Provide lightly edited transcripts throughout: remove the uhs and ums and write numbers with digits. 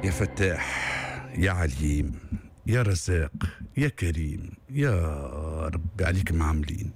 يا فتاح يا عليم يا رزاق يا كريم يا رب عليك معاملين.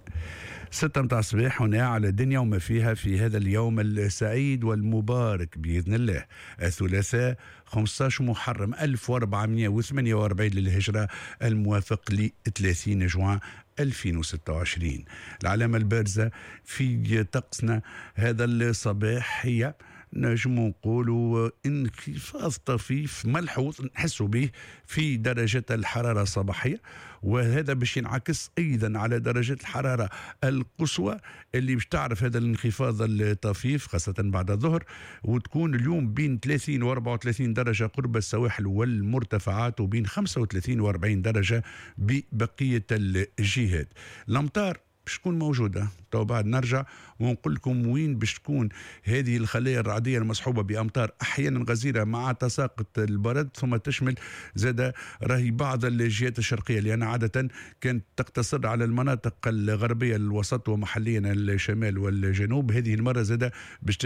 6 متاع الصباح هنا على الدنيا وما فيها في هذا اليوم السعيد والمبارك بإذن الله، الثلاثاء 15 محرم 1448 للهجرة، الموافق ل 30 جوان 2026. العلامة البارزة في طقسنا هذا الصباح هي نجم نقولوا انخفاض طفيف ملحوظ نحس به في درجة الحرارة الصباحية، وهذا باش ينعكس أيضا على درجة الحرارة القصوى اللي باش تعرف هذا الانخفاض الطفيف خاصة بعد الظهر، وتكون اليوم بين 30 و 34 درجة قرب السواحل والمرتفعات، وبين 35 و 40 درجة ببقية الجهات. الأمطار باش تكون موجودة تو بعد نرجع ونقول لكم وين باش تكون هذه الخلايا الرعدية المصحوبة بأمطار أحيانا غزيرة مع تساقط البرد، ثم تشمل زاد راهي بعض الجهات الشرقية، لأن عادة كانت تقتصر على المناطق الغربية الوسط ومحليا الشمال والجنوب. هذه المرة زاد باش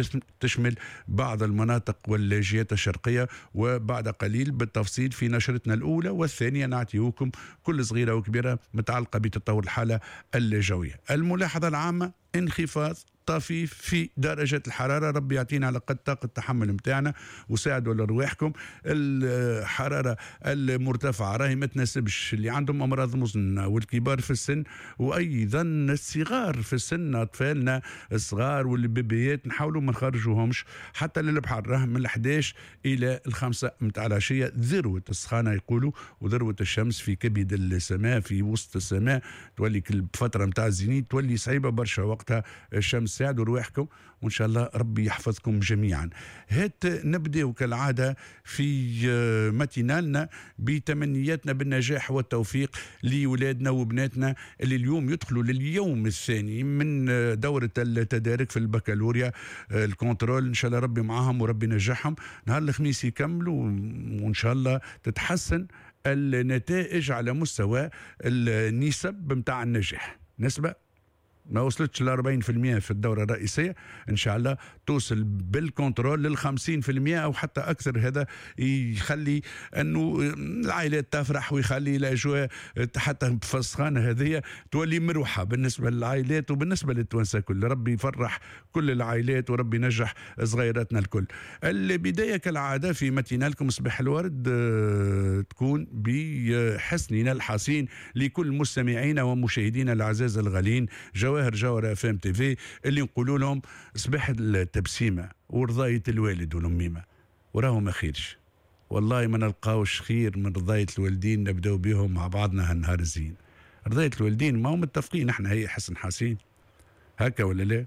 تشمل بعض المناطق والجهات الشرقية، وبعد قليل بالتفصيل في نشرتنا الأولى والثانية نعطيكم كل صغيرة وكبيرة متعلقة بتطور الحالة الجوية. الملاحظة العامة انخفاض طفيف في درجة الحرارة، ربي يعطينا على قد طاقة التحمل متاعنا وساعدوا لأرواحكم. الحرارة المرتفعة راهي ما تناسبش اللي عندهم أمراض مزمنة والكبار في السن، وأيضا الصغار في السن، أطفالنا الصغار والبيبيات نحاولوا ما نخرجوهمش حتى للبحر، راه من 11 إلى 5 متاع العشية ذروة السخانة يقولوا، وذروة الشمس في كبد السماء في وسط السماء، تولي كل فترة متاع الزينيت تولي صعيبة برشا وقتها الشمس. ساعدوا رواحكم وإن شاء الله ربي يحفظكم جميعا. هات نبدأ كالعادة في ماتينالنا بتمنياتنا بالنجاح والتوفيق لولادنا وبناتنا اللي اليوم يدخلوا لليوم الثاني من دورة التدارك في البكالوريا ال contrôle. إن شاء الله ربي معاهم وربي ينجحهم. نهار الخميس يكملوا وإن شاء الله تتحسن النتائج على مستوى النسب متاع النجاح. نسبة ما وصلتش ل 40% في الدورة الرئيسية، إن شاء الله توصل بال contrôle لل 50% أو حتى أكثر. هذا يخلي أنه العائلات تفرح ويخلي الأجواء حتى في السخانة هذه تولي مروحة بالنسبة للعائلات وبالنسبة للتوانسة كل. ربي يفرح كل العائلات وربي ينجح صغيراتنا الكل. البداية كالعادة في ماتينالكم صباح الورد تكون بحسننا الحصين لكل مستمعينا ومشاهدينا الأعزاز الغالين جواهر جوهرة FM TV، اللي نقولوا لهم صباح التبسيمة ورضاية الوالد والأميمة، وراهم ما خيرش والله، ما نلقاوش خير من رضاية الوالدين. نبداو بهم مع بعضنا هالنهار الزين. رضاية الوالدين ما هم متفقين احنا، هي حسن حسين هكا ولا لا؟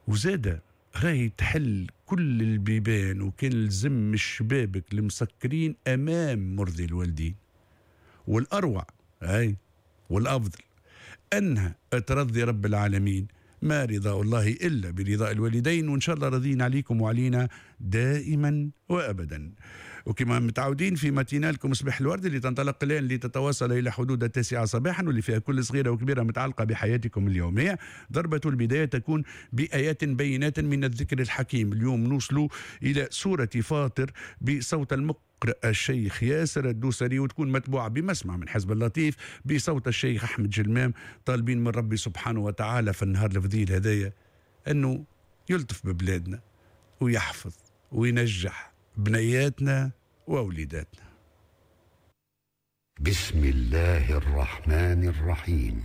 وزادة راهي تحل كل البيبان وكان لزم الشبابك المسكرين أمام مرضي الوالدين. والأروع هاي والأفضل أنها ترضي رب العالمين، ما رضاء الله إلا برضاء الوالدين، وإن شاء الله رضين عليكم وعلينا دائما وأبدا. وكما متعودين في ماتينالكم صباح الورد اللي تنطلق الآن لتتواصل إلى حدود 9 صباحا، واللي فيها كل صغيرة وكبيرة متعلقة بحياتكم اليومية. ضربة البداية تكون بآيات بينات من الذكر الحكيم. اليوم نوصل إلى سورة فاطر بصوت المقرئ الشيخ ياسر الدوسري، وتكون متبوعة بمسمع من حزب اللطيف بصوت الشيخ أحمد جلمام. طالبين من ربي سبحانه وتعالى في النهار الفضيل هذايا أنه يلطف ببلادنا ويحفظ وينجح بنياتنا وأوليداتنا. بسم الله الرحمن الرحيم.